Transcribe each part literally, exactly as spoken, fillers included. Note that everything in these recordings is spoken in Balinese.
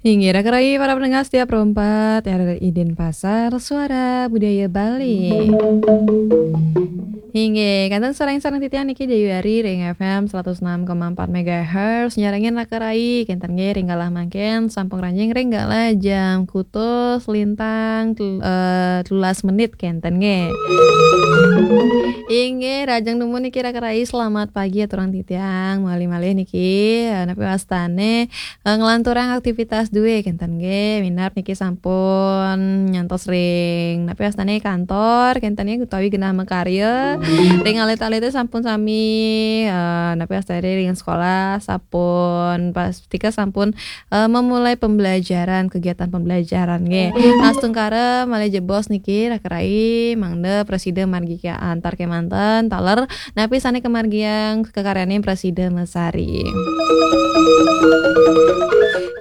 Inggih, raka rayi para pendengar setia Pro empat R R I Denpasar, Suara Budaya Bali. Inggih, kantun sareng-sareng titiang niki Dewi Ari ring F M seratus enam koma empat megahertz, nyarengin raka rayi, kenten nggih ring galah mangkin, sampun ranjing ring galah jam kutus lintang tel-, eh, telulas menit kenten nggih. Inggih, rahajeng dumun niki raka rayi, selamat pagi aturang titiang, malih-malih niki, eh, napi wastane eh, nglanturang aktivitas duwe kenten nggih, minab niki sampun nyantos ring napi wastane kantor kenten nggih utawi genah makarya, ring alit-alite sampun sami, eh, napi wastane ring sekolah sampun pastika sampun, eh, memulai pembelajaran, kegiatan pembelajaran nggih. Astungkara malih jebos niki raka rayi mangda prasida margi antar kemanten taler napi sane kamargiang kakaryaning prasida masari.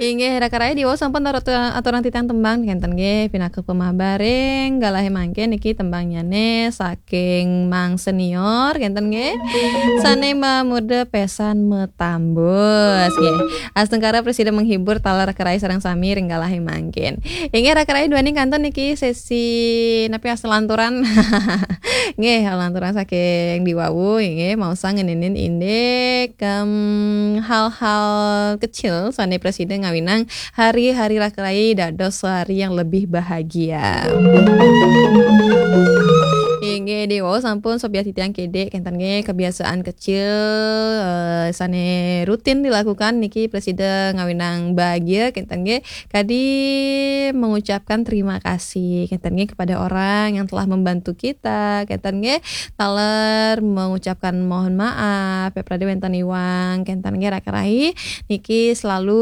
Inggih, raka rayi diwau sampun atur-, aturang titiang tembang kenten nggih, pinaka pamabaring galahe mangkin niki tembangnyane saking Mang Senior kenten nggih. Sane mamurda pesan matambus nggih. Astungkara prasida menghibur taler raka rayi sareng sami ring galahe mangkin. Inggih, raka rayi duaning kantun niki sesi napi wasta lanturan. Nggih, lanturan saking diwawu, nggih, maosang ngeninin indik, em, hal-hal kecil sane prasida ngawinang hari-hari raka rayi dados hari yang lebih bahagia. Inggih, diwawu sampun sobyah titiang kidik, kenten nggih, kebiasaan kecil, eh, sane rutin dilakukan niki prasida ngawinang bahagia, kenten nggih. Kadi mengucapkan terima kasih, kenten nggih, kepada orang yang telah membantu kita, kenten nggih, taler mengucapkan mohon maaf, ya, prade wenten iwang, kenten nggih, raka rayi, niki selalu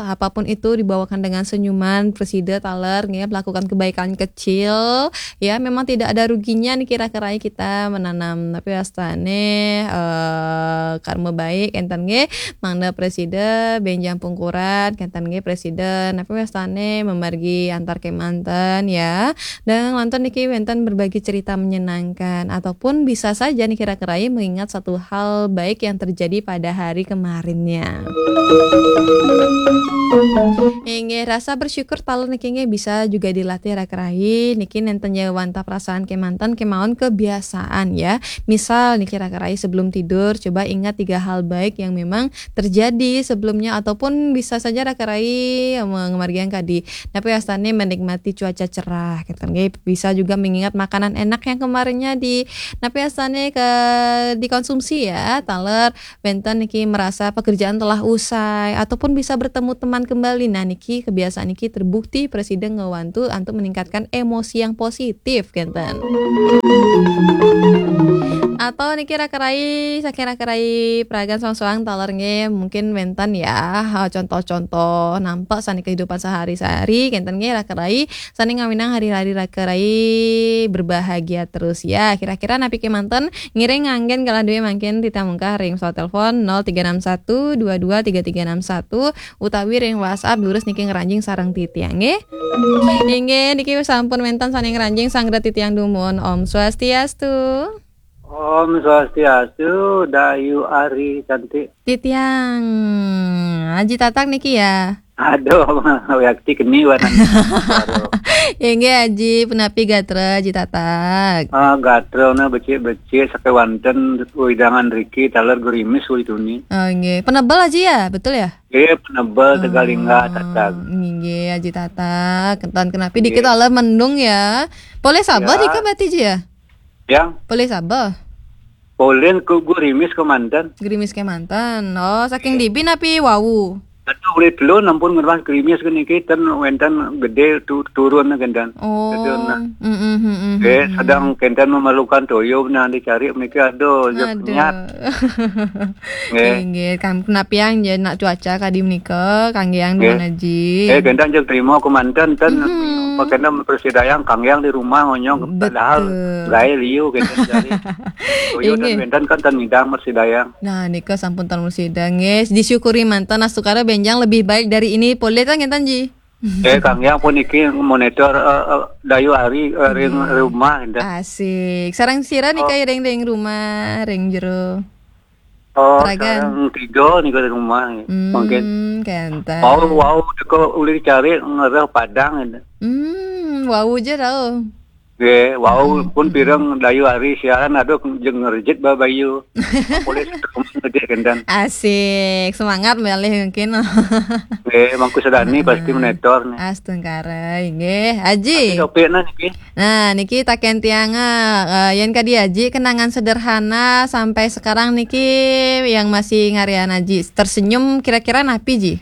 apapun itu dibawakan dengan senyuman, prasida taler nggih, melakukan kebaikan kecil, ya, memang tidak ada ruginya niki raka rayi kita menanam, napi wastane, eh, karma baik, kenten nggih, mangda prasida benjang pungkuran, kenten nggih prasida, napi wastane mamargi antar kemanten ya. Dan lantur niki wenten berbagi cerita menyenangkan, ataupun bisa saja niki raka rayi mengingat satu hal baik yang terjadi pada hari kemarinnya. Inggih, rasa bersyukur taler niki nggih bisa juga dilatih raka rayi. Niki nenten ja wantah perasaan kemanten kemaon kebiasaan ya. Misal niki raka rayi sebelum tidur, coba ingat tiga hal baik yang memang terjadi sebelumnya, ataupun bisa saja raka rayi me-, ngamargiang kadi napi wastane menikmati cuaca cerah, gitu nggih. Bisa juga mengingat makanan enak yang kemarinnya di napi wastane ke dikonsumsi ya, taler wenten niki merasa pekerjaan telah usai ataupun bisa bertemu teman kembali. Nah, niki kebiasaan niki terbukti prasida ngwantu antuk meningkatkan emosi yang positif, kenten. Atau niki raka rayi, saking raka rayi peragan soang-soang taler nggih, mungkin wenten ya, ha, contoh-contoh nampak sane kehidupan sehari-hari, kenten nggih raka rayi, sane ngawinang hari-hari raka rayi berbahagia terus ya. Kira-kira napi kemanten ngiring nganggen galah duwe mangkin titiang mungkah ring pesawat telepon nol tiga enam satu dua dua tiga tiga enam satu utawi ring WhatsApp durus niki ngranjing sareng titiang nggih. Inggih, niki sampun wenten sane ngranjing sareng titiang dumun. Om Swastiastu. Om Swastiastu, Dayu Ari cantik. Titiang Aji Tatak niki ya. Aduh, yakti keni warnanya. Inggih Aji, punapi gatra Aji Tatak? Ah, gatra na becik-becik sakewanten wewidangan riki taler gerimis uli tuni. Oh, inggih. Penebel Aji ya, betul ya? Nggih, penebel Tegalingga Tatak. Inggih Aji Tatak. Kenten kenapi dikit taler mendung ya. Polih sabeh nika berarti Ji ya? Ya. Polih sabeh. Polih ku gerimis kemanten. Gerimis kemanten. Oh, saking dibi napi wau? Aduh, ulih telu nampun ngerwas gerimis ke niki ten wenten gede tu-, turun kenten. Oh. Kenten, nah. Mm, mm, mm, mm, eh, mm, sedang kenten memerlukan toyo nah dicari meniki, aduh, ya. Aduh. Penyat. Nggih. Inggih, kan penapiang ya nak cuaca kadi menika, kanggiang dumun Aji. Eh, kenten jeng terima kemanten ten. Mhm. Pakena persidayang kanggiang di rumah ngonyong padahal gae liu kenten jari. Toyo ten wenten kan ten ngidang persidayang. Nah, nika sampun tan musida nggih. Disyukuri manten, astungkara benjang lebih baik dari ini polih kan ngenten Ji? Eh, kanggiang puniki monitor, eh, eh, Dayu Ari, eh, ring rumah, enten. Asik. Sareng sira nika ring, ring rumah, ring jero? Oh, Ragan. Sareng tiga nika di rumah. Hmm, mungkin. Kenten. Wau, wau, teka ulih dicari ngereh Padang ini. Hmm, wau aja tahu. Nggih, wau pun pireng dayu hari siaran, aduh, jeung ngerejit babayu. Polis terus gede kendan. Asik, semangat malih mungkin. Nggih, Mangku Sedani pasti menetor nih. Astungkara, inggih. Aji. Tapi topikna niki. Nah, niki taken tiang, eh, yen kadi Aji kenangan sederhana sampai sekarang niki yang masih ngarian Aji tersenyum kira-kira napi, Ji?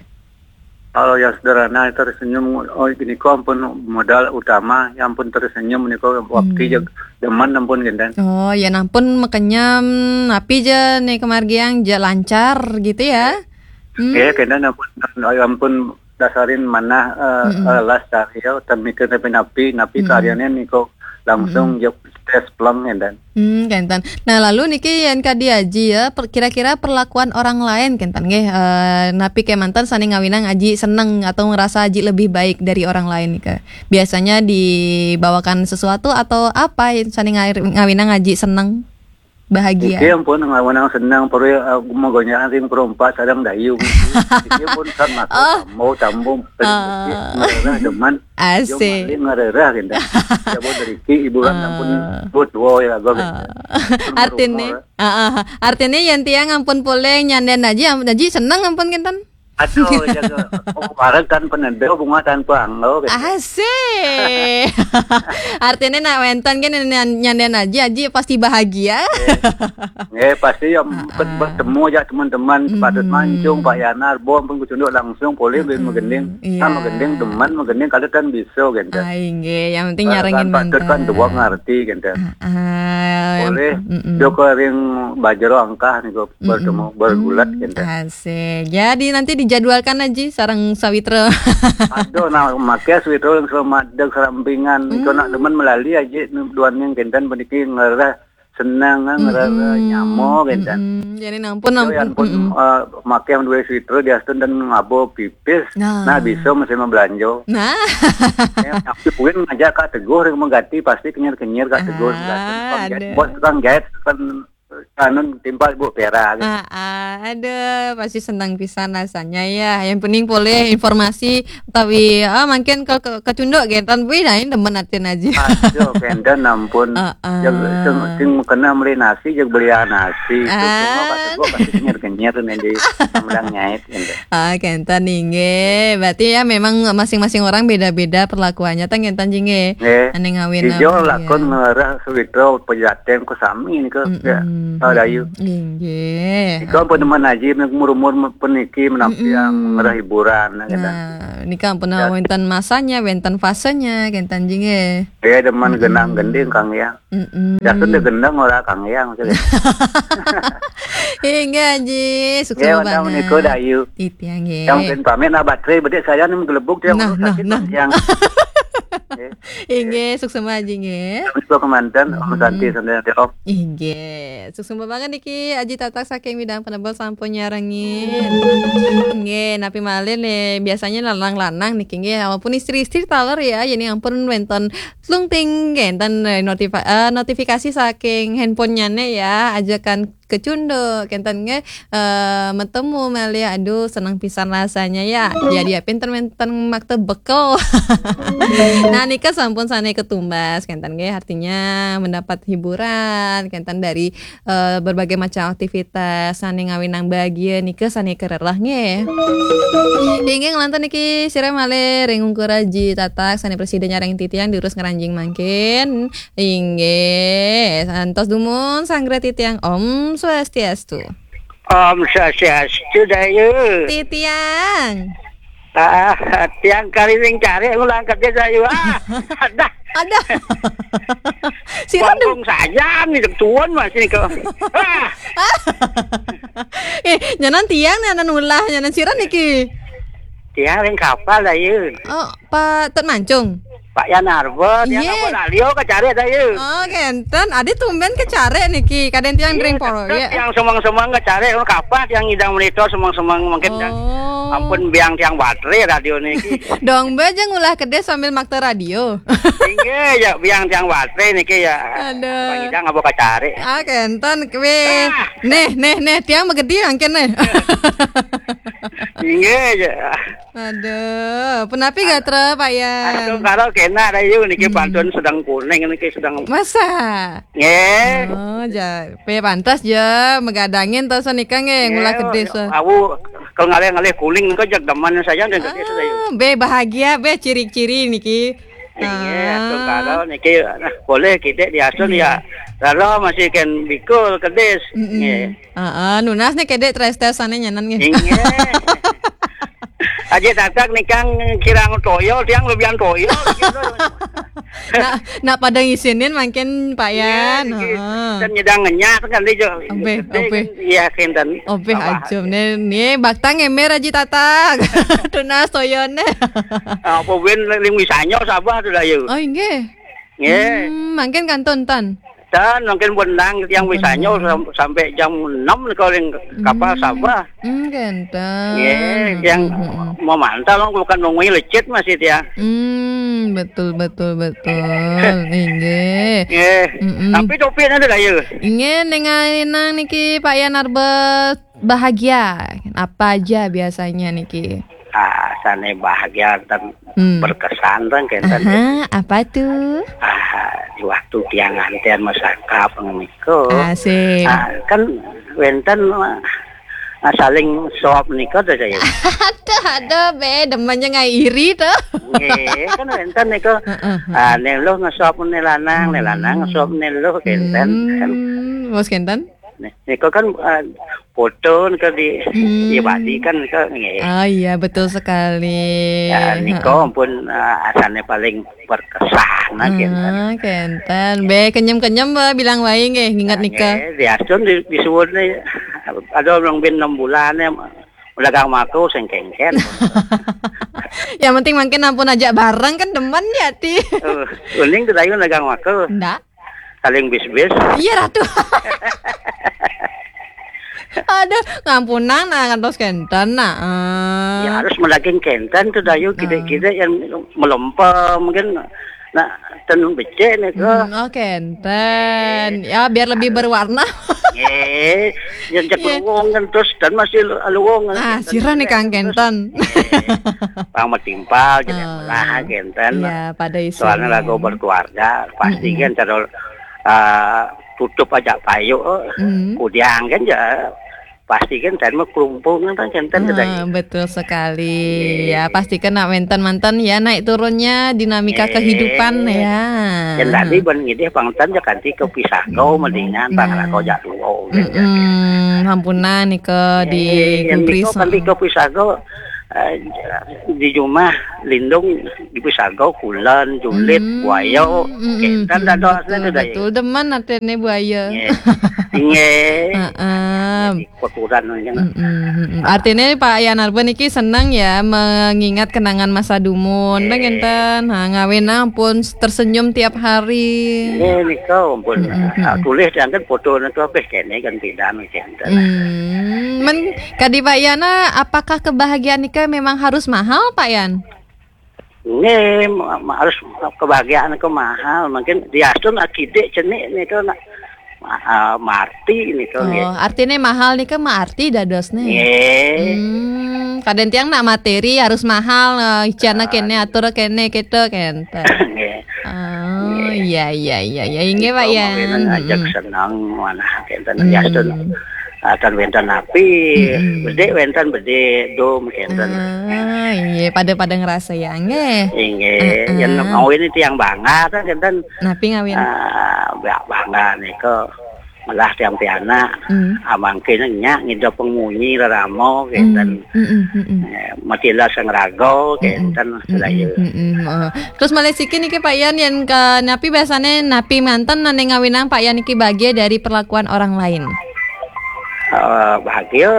Kalau yang sederhana tersenyum, oh, gini kok ampun modal utama, ya ampun tersenyum nika waktu hmm. Demen ampun genten. Oh, ya ampun makenyem napi je nih kemargiang je lancar gitu ya. Hmm. Nggih, kena ampun, ampun dasarin manah, eh, mm-mm. Eh, las cari ya, utan mikir tapi napi, napi mm-mm. Karyanya niko langsung mm-mm. Jawab tes pleng ya dan. Hmm, kenten. Nah, lalu niki yang kadi Aji ya, per, kira-kira perlakuan orang lain kenten nggih, eh, napi kemanten sani ngawinang Aji seneng atau ngerasa Aji lebih baik dari orang lain nika. Biasanya dibawakan sesuatu atau apa sani ngawinang Aji seneng? Bahagia. Iki ampun ngawinang seneng perlu uh, magonyaan ring perompak sadang dayu. Iki pun san masuk oh. Tambo tambo uh. Ngererah deman. Asik. Ngererah gitu. Ya buat dari ki hiburan uh. Ampun buat wow ya gue gitu. Uh. Artinya, uh, uh. Artinya yang tiang ampun poleng nyanden aja, ampun aja seneng ampun kinten. Aduh, jaga. Oh, bareng kan penedel bunga tanpa anglo gitu. Asik. Artinya nak wenten kan nyanden aja, aja pasti bahagia. Nggih, pasti yang bertemu aja teman-teman, Pak Dut Mancung, Pak Yanar, Bom pun kucunduk langsung, boleh beli megending. Iya. Kan megending demen, megending kalau kan bisa gitu. Ah, inggih, yang penting nyarengin mantan. Kan dua ngerti gitu. Boleh Joko ring Bajero angkah nih bertemu bergulat gitu. Asik. Jadi nanti dijadwalkan aja sareng Sawitra. Aduh, nah, make Sawitra yang selamat dek serampingan. Itu nak demen melali aja duan yang kenten peniki ngerah senang ngerah nyamo kenten. Jadi nampun nampun eh, make yang dua Sawitra diastun dan ngabo pipis. Nah, bisa masih mau belanja. Nah. Tapi puin ngajak Kak Teguh yang mengganti pasti kenyir-kenyir Kak Teguh. Ah, bos tukang jahit kan anu timpal Bu Pera gitu. Ah, ah, aduh, pasti senang pisan rasanya ya. Yang penting boleh informasi tapi ah mungkin ke ke, ke cunduk gitu. Wih, nah ini demen atin aja. Aduh, kenten ampun. Uh, uh. Yang sing, sing kena beli nasi, yang beli nasi. Itu semua kata gua pasti kenyir-kenyir nih di menang nyait gitu. Ah, kenten inggih. Berarti ya memang masing-masing orang beda-beda perlakuannya tang kenten jingge. Nggih. Ane ngawin. Ijo lakon ngerah Sawitra pejateng ku sami nika. Ya. Oh, dayu. Inggih. Ika pun teman haji umur-umur peniki menampiang ngerah hiburan gitu. Nah, nika pun wenten masanya, wenten fasenya kenten jingge. Ya demen genang gending Kang ya. Heeh. Ya sudah gendang ora Kang ya maksudnya. Inggih Aji, sukses banget. Ya, wanda menika dayu. Titiang nggih. Yang pin pamit nah baterai bedik saya nih gelebuk dia nah, nah, nah. Yang. Inggih, sukses Aji nggih. Terus kemanten Om Santi sampai Om. Inggih, sukses banget niki Aji Tatak saking Widang Penebel sampun nyarengin. Inggih, napi malih nih biasanya lanang-lanang niki nggih walaupun istri-istri taler ya, jadi ampun wenten tlung ting nggih enten eh, notifi- eh, notifikasi saking handphonenya nih ya, ajakan kecunduk kenten nggih eh, metemu malih aduh senang pisan rasanya ya. Jadi ya pinter menten makta bekel. Nah nika sampun sane ketumbas kenten nggih artinya mendapat hiburan kenten dari eh, berbagai macam aktivitas sane ngawinang bahagia nika sane kererah nggih. Inggih ngelantur niki sira malih ring ungkur Aji Tatak sane presiden nyareng titiang diurus ngeranjing mangkin. Inggih, santos dumun sanggra titiang Om Swastiastu. Om Swastiastu, Dayu. Titiang. Ah, tiang kali ring cari ngulang kerja, Dayu. Ah, ada. Ada. Sira Bangkong saja nih tuan masih nih kok. Ah. Eh, nyanan tiang nih anan ulah nyanan sira niki. Tiang ring kapal, Dayu. Oh, Pak Tut Mancung. Pak Yan Arba, tiang Iya. Apa radio kacari ada ya. Oh, kenten. Adi tumben kacari niki. Kadén tiang Iya, dering poro, tetep ya. Tiang semang-semang kacari, kalau kapan tiang ngidang monitor semang-semang mungkin tiang Oh. Ampun biang tiang baterai radio niki. Dong, bé, jang ulah kedé sambil makta radio. Inggih, ya, biang tiang baterai niki ya. Aduh. Bang Idang apa kacari. Ah, kenten, kue. Ah. Nih, nih, nih, tiang begedi mangkin nih. Inggih, ya. Aduh, punapi gatra, Pak Yan? Aduh, kalau kena ada yuk, niki Hmm. Pantun sedang kuning, niki sedang Masa? Nggih. Oh, ja, pe pantas ja megadangin to sanika nggih, ngulah Nggih, kedé sa. Awu, kalau ngalih-ngalih kuning nika jag demen saja dan kedé sa, yuk. Ah, bé bahagia, bé ciri-ciri niki. Inggih, Ah. Atur karo niki, nah, boleh kidik diasun Iya. Ya. Lalu masih ken bikul kedis. Mm-mm. Nggih. Heeh, nunas nih kedé tres-tres sané nyanan nggih. Inggih. Aja tatak nikang kirang toyo, tiang lebihan toyo. Gitu. Nak, nak pada ngisinin mangkin Pak Iya, Yan. Niki. Heeh. Dan nyedang ngenyak kan dia jo. Obéh, Gede obéh. Kan, iya, kenten. Obéh, bawah. Ajum nih, nih baktang emer aja tatak. Tunas toyoné. Apa ben ling wisanyo Sabah tu dah, yuk. Oh, inggih. Nggih. Hmm, mangkin kantun tan. Dan mungkin benang tiang Hmm, wisanyo kantun. Sam-, sampai jam enam nih kalau yang kapal Hmm. Sabah. Hmm, kenten. Nggih, yang Hmm, hmm, hmm. Memantau, bukan nungguin lecet masih tiang. Hmm, betul, betul, betul. Inggih. Nggih. Mm-mm. Tapi topi nanti dah, ya. Inggih, dengan niki Pak Yan Arba bahagia. Apa aja biasanya niki? Ah, sané bahagia dan Hmm. Berkesan, kan, kenten. Aha, apa tu? Ah, di waktu tiang nganten masakap menika. Asik. Ah, kan wenten, ah, saling sop menika to, saya. Aduh, aduh, bé, demennya ngai iri to. Nggih, kan wenten nika. Heeh, heeh. Ah, né luh ngesop né lanang, né lanang Hmm. Ngesop né luh, kenten, kan. Hmm, bos kenten? Nih, nika kan, eh, foto nika di Hmm. Iya, Badi kan nika nggih. Oh iya, betul sekali. Ya, nika Heeh. Ampun, eh, asané paling berkesan, nah, kenten. Ah, kenten. Bé, kenyem-kenyem, Mbak, bilang waé nggih, nginget Nah, nika. Nggih, diasun di, disuwun nih. Ada orang bin enam bulan ya, dagang mako sing kengken. Yang penting mangkin ampun ajak bareng kan demen ya, Ti. Eh, uning kedayun dagang mako. Ndak. Saling bis-bis. Iya, Ratu. Aduh, ngampunang nah ngantos kenten nah. Eh. Ya, harus melaging kenten tuh, Dayu, Ah. Kide-kide yang melempem, mungkin, nah, ten becek nih, kok. Hmm, oh, kenten. Ya, biar lebih berwarna. Nggih, ya, cek Nggih. Luwung kan, terus dan masih lu-, luwung kan, Ah, kenten sira nih, juga, Kang, terus, kenten. Nggih. Pang metimpal, jadi Ah. Lah, kenten. Iya, pada isu. Soalnya lagu berkeluarga, pasti Mm-mm. Kan cara, eh, tutup aja payu, Mm. Kudiang kan ya, pasti kan dan mau kerumpungan kan kenten. Ah, kedai. Betul sekali. Iya. Ya, pasti kena wenten mantan ya, naik turunnya dinamika Iya. Kehidupan ya. Dan tadi ban ngidih pangtan ya kanti ke Pisagau, Mm. Mendingan pang Nah. Lagu jak luwung, gitu. Mm-mm. Hampunan nih ke di Iya, yang Gubris, niko kanti heeh. Ke Pisagau, eh, di rumah lindung di Pisagau, kulen, julit, Mm-mm. Buaya. Mm-mm. Kenten dah doa. Betul, saya tu dah, betul. Ya. Demen artinya buaya. Nggih. Nggih. Heeh. Jadi kotoran aja. Mm-mm, mm-mm. Ah. Artinya Pak Yan Arba niki senang ya mengingat kenangan masa dumun. Nggih. Kan kenten. Ha, ngawin ampun tersenyum tiap hari. Nggih, nika ampun. Mm-mm, ah, mm-mm. Tulis yang kan foto nika habis kene kan pindah kenten. Hmm, men kadi Pak Yana, apakah kebahagiaan nika memang harus mahal, Pak Yan? Nggih, ma-, ma-, harus kebahagiaan ke mahal. Mungkin diasun akidik cenik nika nak ma-, ah, marti nika nggih. Oh, artinya mahal nika mah arti dadosnya. Nggih. Hmm, kadang tiang nak materi harus mahal, eh, icana Ah. Kene, atur kene, kita kenten. Nggih. Oh, nggih. Iya, iya, iya, iya. Inggih, Pak Yan. Itu mawin ajak Mm-mm. Senang mana kenten. Hmm. Diasun. Akan wenten api, Mm-mm. Bedik wenten bedik, dom kenten. Ah, iya, pada-pada ngerasa ya, nggih. Inggih, heeh. Yang mau ini tiang bangga kan kenten. Napi ngawin? Ah, ba-, bangga nika. Malah tiang pianak. Mm. Amangkin nyak ngidap pengunyi reramo kenten. Mm, mm, mm, mm. Eh, matila sang raga kenten, mm-mm, sedaya. Mm-mm, heeh. Terus malih siki niki Pak Yan, yang ke napi biasanya napi manten nane ngawinang Pak Yan niki bagian dari perlakuan orang lain? Eh, bahagia,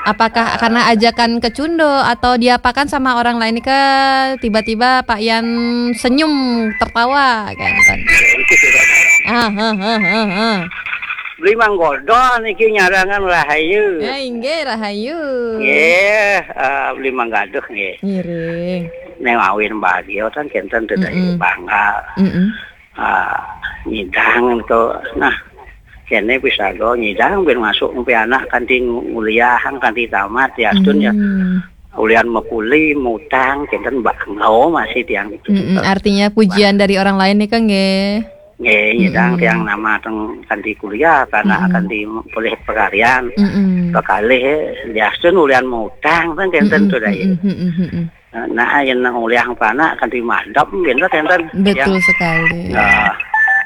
Apakah karena ajakan kecundo atau diapakan sama orang lain ke tiba-tiba Pak Yan senyum tertawa kan? Ah, ha, ha, ha, ha. Beli manggodo niki nyarangan rahayu. Ya, inggih rahayu. Nggih, eh, beli manggaduh nggih. Ngiring. Neng awin bahagia kan kenten teu Mm-mm. bangga. Mm-mm. Ah, nyidang to. Nah, kene pisago nyidang ben masuk mpi anak kanti nguliahang kanti tamat ya astun ya. Hmm. Ulian mekuli, mutang, kenten bangga masih tiang itu. Mm-mm, artinya pujian dari orang lain nih kan nggih. Nggih, nyidang Mm-mm. tiang nama teng kanti kuliah, karena Mm-mm. kanti boleh pekarian. Mm-mm. Pekalih ya astun ulian mutang kan kenten Mm-mm, tuh dai. Mm-mm, mm-mm, mm-mm. Nah, yen nang uliahang panak kanti madep, kenten, kenten. Betul sekali. Nah,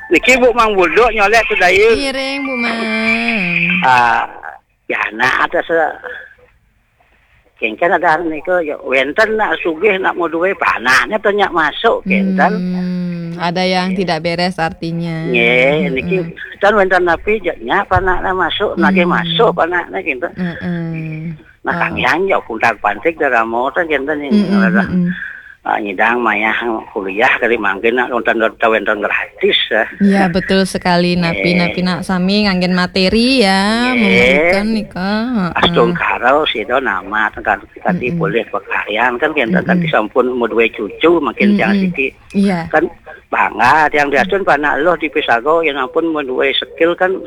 niki Bu Mang Buldo nyolek tuh dai. Iring Bu Mang. Ah, ya nah ada se kengken ada niku ya wenten nak sugih nak mau duwe panaknya tanya masuk kenten. Hmm, ada yang tidak beres artinya. Nggih, niki Mm-mm. Kan wenten napi ja nya panaknya masuk, nagih Mm. masuk panaknya kenten. Mm-mm. Nah, Oh. Kang Yan ya kuntak pantik daramo teh kenten ini. Mm-mm, Ngerasa, mm-mm. Ah, nyidang mayah kuliah kali mangkin nak nonton nonton wenten gratis ya. Iya, betul sekali. Napi, Eh. napi nak sami nganggen materi ya, Nggih. Memerlukan nika. Heeh. Astungkara sida nama kan tadi Mm-mm. boleh pekarian kan kenten Mm-mm. tadi sampun mau duwe cucu makin tiang Mm-mm. siki. Iya. Kan bangga tiang diastun panak loh di pisago yang ampun mau duwe skill kan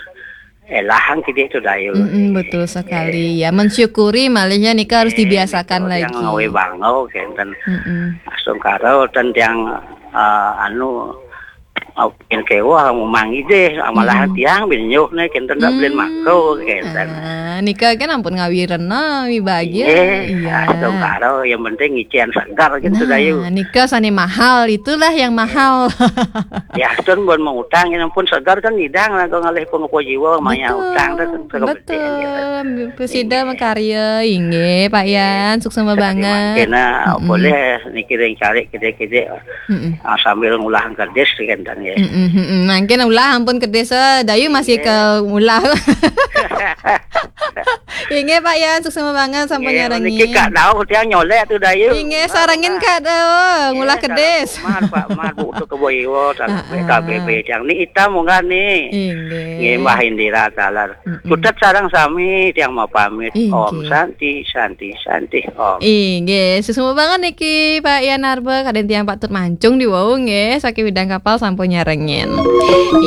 elahang kidik tuh dayu. Mm-mm, betul sekali. Ya, mensyukuri malihnya nika harus Eh, dibiasakan niku lagi. Yang ngawe bangau kenten. Mm-mm. Astungkara ten tiang eh, anu Aupin kewa mau mangi deh, malah Hmm. tiang bin nyuh nih kenten dak belin Hmm. mako kenten. Ah, nika kan ampun ngawirena, wi bahagia. Iya, Iya. Astungkara yang penting ngician segar gitu Nah, dayu. Nika sane mahal, itulah yang mahal. Ya, astun buat mengutang yang pun segar kan nyidang lah kok ngalih pengepo jiwa maya Betul, utang dah kan betul. Presida Iya. Makarya, inggih Pak Iya. Yan, suksma Sekali banget. Mangkena Mm-mm. boleh niki ring cari kede-kede Mm-mm. ah, sambil ngulah kedis kenten ya. Mm-mm, mm-mm. Mangkin ulah ampun kedis eh, dayu masih Iya. ke ulah. Inggih Pak Yan, suksma banget sampun Iya, nyarengi. Niki Kak Daud yang nyolek tuh dayu. Inggih sarengin Kak Daud, ngulah kedis. Mar Pak Mar Bu tuh kebo iwo Ah, ah. K B B yang ni itam munggah ni. Inggih. Nggih Mbah Indira taler. Mm-mm. Putet sareng sami tiang mau pamit. Inggih. Om Santi, Santi, Santi, Om. Inggih, suksma banget niki Pak Yan Arba, kadang tiang patut mancung di wau nggih, saking bidang kapal sampun nyarengin.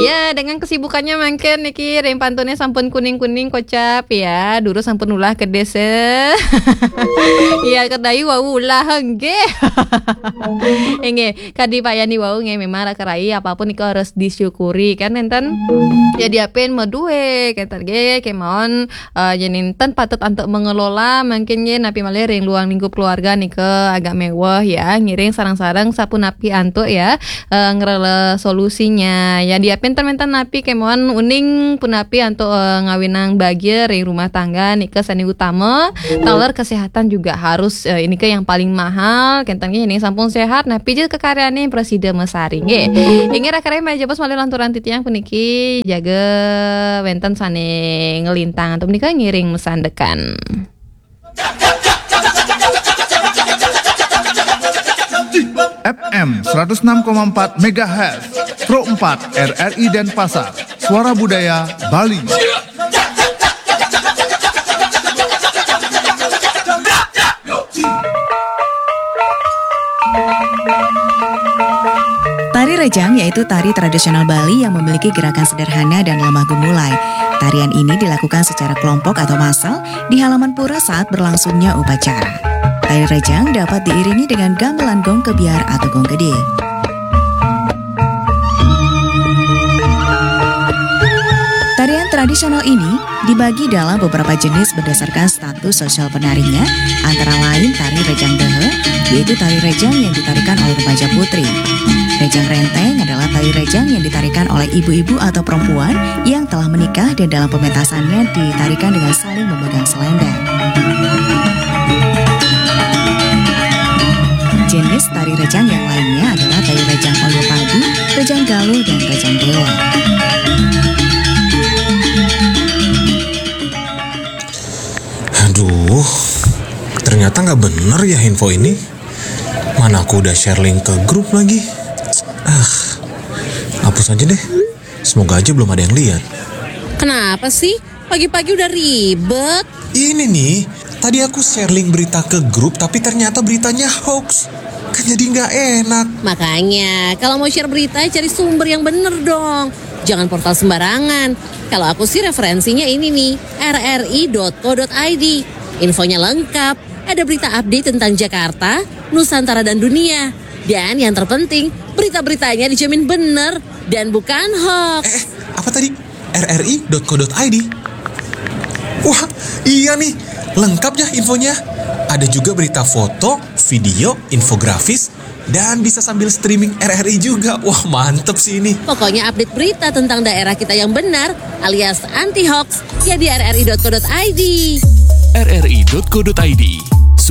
Ya, dengan kesibukannya mangkin niki ring pantunnya sampun kuning-kuning kocap ya, dulu sampun ulah kedis eh. Iya, kedayu wau ulah nggih. Inggih, kadi Pak Yani wau nggih memang raka rai apapun itu harus disyukuri kan enten. Ya diapin medue kenten nggih kemauan eh, yen enten patut antuk mengelola mungkin nggih napi malih ring luang lingkup keluarga nika agak mewah ya ngiring sareng-sareng sapunapi antuk ya eh, ngrela solusinya ya dia pinter menten napi kemauan uning punapi antuk eh, ngawinang bahagia ring rumah tangga nika sane utama taler kesehatan juga harus eh, ini ke yang paling mahal kenten nggih ini sampun sehat napi je kekaryane presida mesari nggih inggih raka rai menawi jebos malih lanturan titiang puniki jaga wenten sane ngelintang antuk menika ngiring mesandekan. F M seratus enam koma empat megahertz, Pro empat R R I Denpasar, Suara Budaya Bali. Tari rejang yaitu tari tradisional Bali yang memiliki gerakan sederhana dan lemah gemulai. Tarian ini dilakukan secara kelompok atau massal di halaman pura saat berlangsungnya upacara. Tari rejang dapat diiringi dengan gamelan gong kebyar atau gong gede. Tarian tradisional ini dibagi dalam beberapa jenis berdasarkan status sosial penarinya, antara lain tari rejang dehe, yaitu tari rejang yang ditarikan oleh remaja putri. Rejang renteng adalah tari rejang yang ditarikan oleh ibu-ibu atau perempuan yang telah menikah dan dalam pementasannya ditarikan dengan saling memegang selendang. Jenis tari rejang yang lainnya adalah tari rejang oyo padi, rejang galuh, dan rejang dewa. Aduh, Ternyata nggak bener ya info ini. Mana aku udah share link ke grup lagi. Ah, hapus aja deh. Semoga aja belum ada yang lihat. Kenapa sih? Pagi-pagi udah ribet. Ini nih, tadi aku share link berita ke grup tapi ternyata beritanya hoax. Kan jadi nggak enak. Makanya, kalau mau share berita, cari sumber yang bener dong. Jangan portal sembarangan. Kalau aku sih referensinya ini nih, rri.co.id. Infonya lengkap, ada berita update tentang Jakarta, Nusantara dan dunia. Dan yang terpenting, berita-beritanya dijamin bener dan bukan hoax. Eh, apa tadi? rri.co.id. Wah, iya nih, lengkap ya infonya. Ada juga berita foto, video, infografis, dan bisa sambil streaming R R I juga. Wah, mantep sih ini. Pokoknya update berita tentang daerah kita yang benar alias anti hoax ya di rri.co.id. rri.co.id.